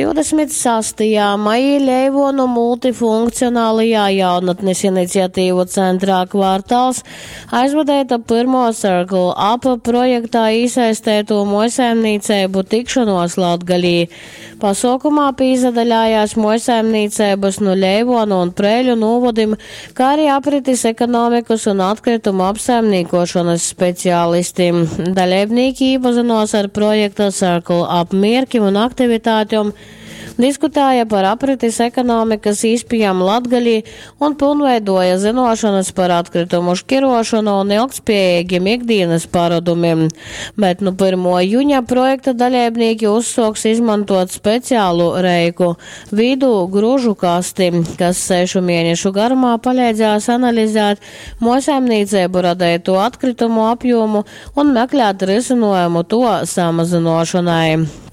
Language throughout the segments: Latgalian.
26. Maijī Leivuonu multifunkcionalajā jaunatnis iniciatīvu centrā Kvartāls aizvadeita pyrmuo Circle Up projektā īsaisteitū muojsaimnīceibu tikšonuos Latgalī. Pasuokumā pīsadaļājās muojsaimnīceibys nu Leivuonu un Preiļu nūvodim, kā arī apritis ekonomikas un atkritumu apsaimnīkuošonys speciālisti. Daleibnīki īpazynuos ar projekta Circle Up mierkim un aktivitātem, diskutēja par apritis ekonomikas īspējām Latgalī un pylnveiduoja zynuošonys par atkritumu škiruošonu un ilgtspiejīgim ikdīnys parodumim. Bet nu pyrmuo juņa projekta daleibnīki uzsuoks izmontuot speciālu reiku, vīdū gružu kasti, kas sešu mienešu garumā paleidzēs analizēt muojsaimnīceibu radeitū atkritumu apjūmu un meklēt rysynuojumu tuo samazynuošonai.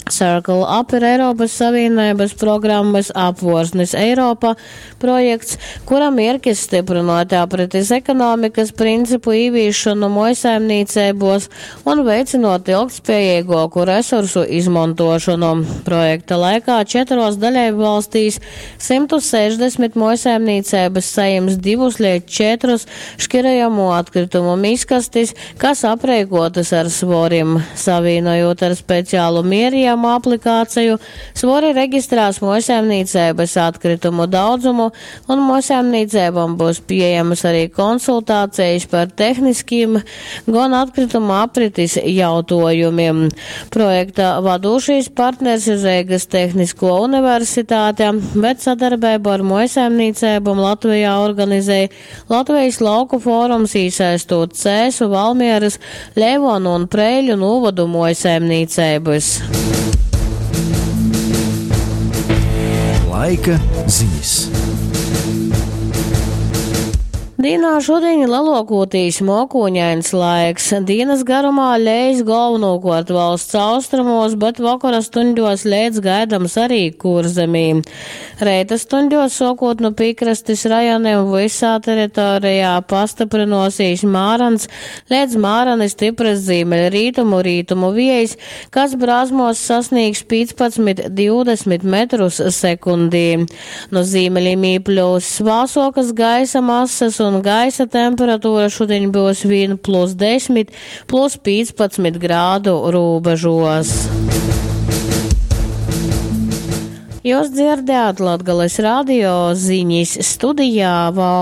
Circle Up ir Eiropys Savīneibys programmys Apvuorsnis Eiropa projekts, kura mierkis styprynuot apritis ekonomikys principu īvīsšonu muojsaimnīceibuos un veicynuot ilgtspiejeiguoku resursu izmontuošonu. Projekta laikā četruos daleibvalstīs 160 muojsaimnīceibys sajims divus leidz četrus škirojamū atkritumu miskastis, kas apreikuotys ar svorim. Savīnojūt ar speciālu mieriejumu aplikāciju, svori registrās muojsaimnīceibys atkritumu daudzumu, un muojsaimnīceibom byus pieejamys arī konsultācejis par tehniskim, gon atkritumu apritis jautuojumim. Projekta vadūšīs partners ir Reigys Tehniskuo universitāte, bet sadarbeibu ar muojsaimnīceibom Latvejā organizej Latvejis Lauku forums, īsaistūt Cēsu, Valmierys, Leivuonu un Preiļu nūvodu muojsaimnīceibys. Laika zinis. Dīnā šudiņ leluokūtīs muokūņains laiks. Dīnys garumā leis golvonūkuort valsts austrumūs, bet vokora stuņdōs leits gaidams ari Kurzemī. Reita stuņdōs, suokūt nu pīkrastis rajonim, vysā teritorijā pastyprynuosīs mārans leidz mārani styprys zīmeļrītumu rītumu viejs, kas brāzmuos sasnīgs 15-20 metrus sekundī. Nu zīmeļim īpļyuss vāsuokys gaisa masys un gaisa temperatūra šudiņ byus vīn plus 10, plus 15 grādu rūbežuos. Jūs dzirdējāt Latgales radio ziņas studijā Valda.